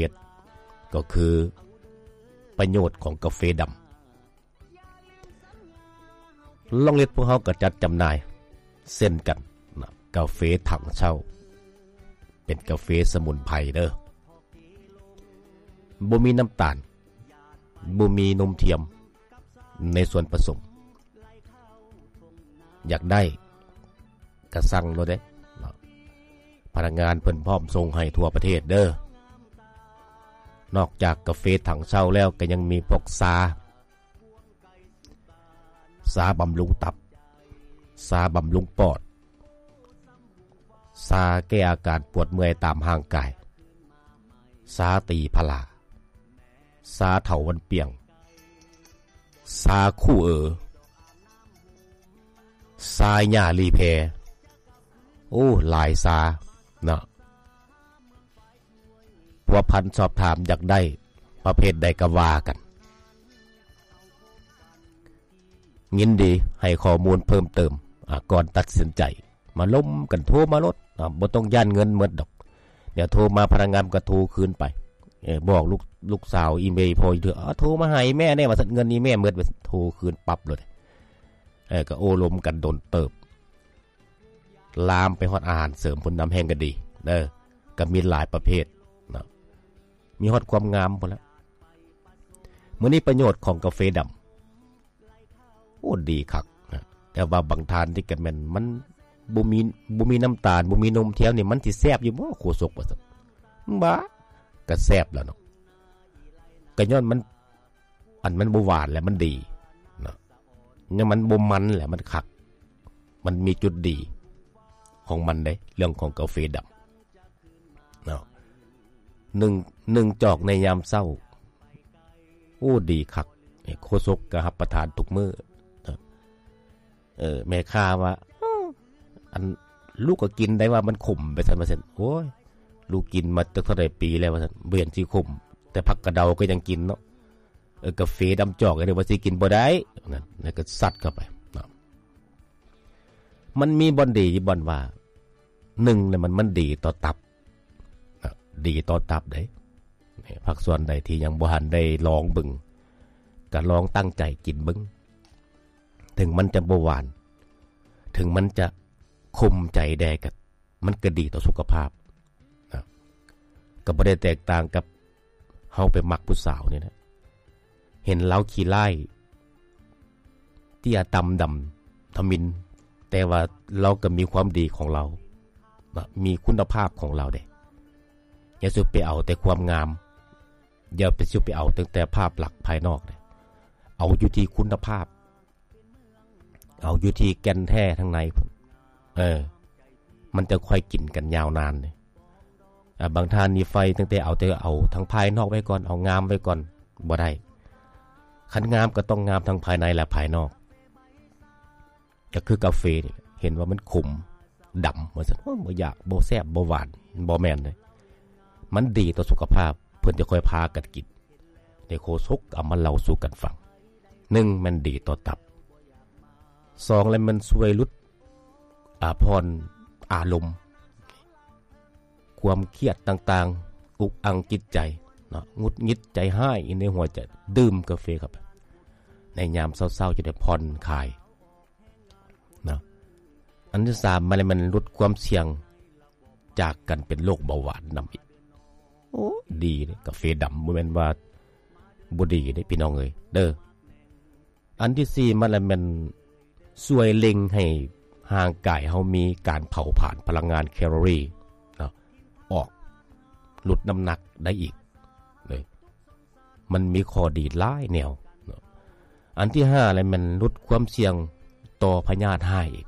ດ ກໍຄືປະໂຫຍດຂອງກາເຟດຳ. ລອງລິດພວກເຮົາກໍຈັດຈຳໜ່າຍເຊັ່ນກັນນະ ກາເຟຖັງເຊົ່າ ເປັນກາເຟສະໝຸນໄພເດີ ບໍ່ມີນ້ຳຕານ ບໍ່ມີນົມທຽມໃນສ່ວນປະສົມ. ຢາກໄດ້ກະສັ່ງໂລດເດ້ເນາະ ພະນັກງານເພິ່ນພ້ອມສົ່ງໃຫ້ທົ່ວປະເທດເດີ. ນອກຈາກກາເຟຖັງເຊົ່າແລ້ວ ກໍຍັງມີພວກຊາ ຊາບຳລຸງຕັບ, ຊາບຳລຸງປອດ, ຊາແກ້ອາການປວດເມື່ອຍຕາມຮ່າງກາຍ, ຊາຕີພະລາ, ຊາເຖົາວັນປຽງ, ຊາຄູ່ເອີ, ຊາຫຍ້າລີແພ. ໂອ້ ຫຼາຍຊາເນາະ. ພົວພັນສອບຖາມຢາກໄດ້ປະເພດໃດກໍວ່າກັນ. ຍິນດີໃຫ້ຂໍ້ມູນເພີ່ມເຕີມ ອາ ກ່ອນຕັດສິນໃຈ. ມາລົມກັນ ໂທມາໂລດ ອາ ບໍ່ຕ້ອງຢ້ານເງິນໝົດດອກ. ດຽວໂທມາພະນັກງານກໍໂທຄືນໄປ. ເອີ ບອກລູກ ລູກສາວອີເມລພໍ່ຢູ່ເທື່ອ ອາ ໂທມາຫາອີແມ່ແດ່ວ່າຊັ້ນ ເງິນອີແມ່ໝົດວ່າຊັ້ນ ໂທຄືນປັບໂລດ. ເອີ ກໍໂອ້ລົມກັນດົນເຕີບ. ລາມໄປຮອດອາຫານເສີມພຸ້ນນຳແຮ່ງກໍດີເດີ ກໍມີຫຼາຍປະເພດເນາະ ມີຮອດຄວາມງາມພຸ້ນລະ. ມື້ນີ້ປະໂຫຍດຂອງກາເຟດຳ ໂອ້ ດີຄັກນະ ແຕ່ວ່າບາງທ່ານນີ້ກໍແມ່ນມັນບໍ່ມີ ບໍ່ມີນ້ຳຕານ ບໍ່ມີນົມທຽມນີ້ ມັນຊິແຊບຢູ່ບໍ່ໂຄສົກ ວ່າຊັ້ນ. ບ້າ ກໍແຊບແລ້ວເນາະ ກໍຍ້ອນມັນ ອັນມັນບໍ່ຫວານແຫຼະມັນດີເນາະ ຍັງມັນບໍ່ມັນແຫຼະມັນຄັກ ມັນມີຈຸດດີຂອງມັນເດ້ ເລື່ອງຂອງກາເຟດຳເນາະ. ໜຶ່ງ ໜຶ່ງຈອກໃນຍາມເຊົ້າ ໂອ້ ດີຄັກ. ໂຄສົກກໍຮັບປະທານທຸກມື້ເນາະ. ເອີ ແມ່ຄ້າວ່າ ເອີ ອັນລູກກໍກິນໄດ້ວ່າມັນຂົມ ໄປຊັ້ນວ່າຊັ້ນ. ໂອ້ຍ ລູກກິນມາຈັກເທົ່າໃດປີແລ້ວວ່າຊັ້ນ ບໍ່ເຫັນຊິຂົມ ແຕ່ຜັກກະເດົາກໍຍັງກິນເນາະ. ເອີ ກາເຟດຳຈອກ ເອີ ວ່າຊິກິນບໍ່ໄດ້ ນັ້ນ ແລ້ວກໍຊັດເຂົ້າໄປເນາະ. ມັນມີບ່ອນດີຢູ່ບ່ອນວ່າ ໜຶ່ງ ແລ້ວມັນ ມັນດີຕໍ່ຕັບເນາະ ດີຕໍ່ຕັບເດ້. ນີ້ ພາກສ່ວນໃດທີ່ຍັງບໍ່ທັນໄດ້ລອງເບິ່ງ ກໍລອງຕັ້ງໃຈກິນເບິ່ງ ເຖິງມັນຈະບໍ່ຫວານ ເຖິງມັນຈະຂົມໃຈແດ່ ກໍ ມັນກໍດີຕໍ່ສຸຂະພາບນະ. ກໍບໍ່ໄດ້ແຕກຕ່າງກັບເຮົາໄປມັກຜູ້ສາວນີ້ນະ ເຫັນລາວຂີ້ຮ້າຍ ເຕ້ຍຕ່ຳດຳທຳມິນ ແຕ່ວ່າລາວກໍມີຄວາມດີຂອງລາວນະ ມີຄຸນນະພາບຂອງລາວເດ້. ຢ່າສຸໄປເອົາແຕ່ຄວາມງາມ ຢ່າໄປ ສຸໄປເອົາຕັ້ງແຕ່ພາບລັກພາຍນອກເດ້ ເອົາຢູ່ທີ່ຄຸນນະພາບ ເອົາຢູ່ທີ່ແກ່ນແທ້ທາງໃນພຸ້ນ ເອີ ມັນຈະຄ່ອຍກິນກັນຍາວນານເດ້. ອາ ບາງທ່ານນີ້ໃຝ່ຕັ້ງແຕ່ເອົາ ແຕ່ເອົາທາງພາຍນອກໄວ້ກ່ອນ ເອົາງາມໄວ້ກ່ອນ ບໍ່ໄດ້. ຄັນງາມກໍຕ້ອງງາມທັງພາຍໃນ ແລະ ພາຍນອກ. ກໍຄືກາເຟນີ້ ເຫັນວ່າມັນຂົມ ດຳວ່າຊັ້ນ ໂອ້ຍ ບໍ່ຢາກ ບໍ່ແຊບ ບໍ່ຫວານ ບໍ່ແມ່ນເດ້. ມັນດີຕໍ່ສຸຂະພາບ ເພິ່ນຈະຄ່ອຍພາກັນກິນ. ໃນໂຄສົກເອົາມາເລົ່າສູ່ກັນຟັງ. ໜຶ່ງ ແມ່ນດີຕໍ່ຕັບ. ສອງ ແລ້ວມັນຊ່ວຍຫຼຸດ ອາ ຜ່ອນອາລົມ ຄວາມຄຽດຕ່າງໆ ອຸກອັ່ງຈິດໃຈເນາະ ຫງຸດຫງິດໃຈຮ້າຍຢູ່ໃນຫົວໃຈ ດື່ມກາເຟເຂົ້າໄປ ໃນຍາມເຊົ້າໆ ຈະໄດ້ຜ່ອນຄາຍ ເນາະ. ອັນທີສາມ ມັນ ມັນຫຼຸດຄວາມສ່ຽງຈາກການເປັນໂລກເບົາຫວານນຳອີກ. ໂອ້ ດີເດ້ ກາເຟດຳ ບໍ່ແມ່ນວ່າບໍ່ດີເດ້ພີ່ນ້ອງເອີຍ ເດີ. ອັນທີສີ່ ມັນລະແມ່ນຊ່ວຍເລັ່ງໃຫ້ຮ່າງກາຍເຮົາມີການເຜົາຜານພະລັງງານແຄລໍຣີເນາະ ອອກ ຫຼຸດນ້ຳໜັກໄດ້ອີກເດີ. ມັນມີຂໍ້ດີຫຼາຍແນວເນາະ. ອັນທີຫ້າ ແລ້ວແມ່ນຫຼຸດຄວາມສ່ຽງຕໍ່ພະຍາດຮ້າຍອີກ.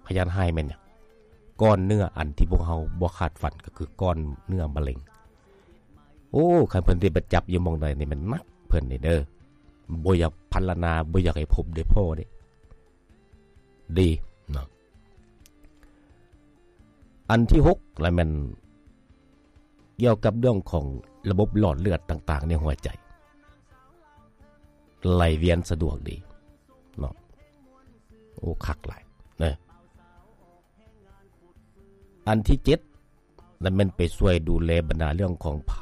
ພະຍາດຮ້າຍແມ່ນຫຍັງ? ກ້ອນເນື້ອອັນທີ່ພວກເຮົາບໍ່ຄາດຝັນ ກໍຄືກ້ອນເນື້ອມະເຮັງ. ໂອ້ ຄັນເພິ່ນໄດ້ໄປຈັບຢູ່ໝ່ອງໃດນີ້ແມ່ນໜັກເພິ່ນນີ້ເດີ. ບໍ່ຢາກພັນລະນາ ບໍ່ຢາກໃຫ້ພົບໄດ້ພໍ້ເດ້. ດີເນາະ. ອັນທີຫົກ ລະແມ່ນກ່ຽວກັບເລື່ອງຂອງລະບົບຫຼອດເລືອດຕ່າງໆໃນຫົວໃຈ ໄຫຼວຽນສະດວກດີເນາະ. ໂອ້ ຄັກຫຼາຍເນາະ. ອັນທີເຈັດ ລະແມ່ນໄປຊ່ວຍດູແລບັນດາເລື່ອງຂອງພາ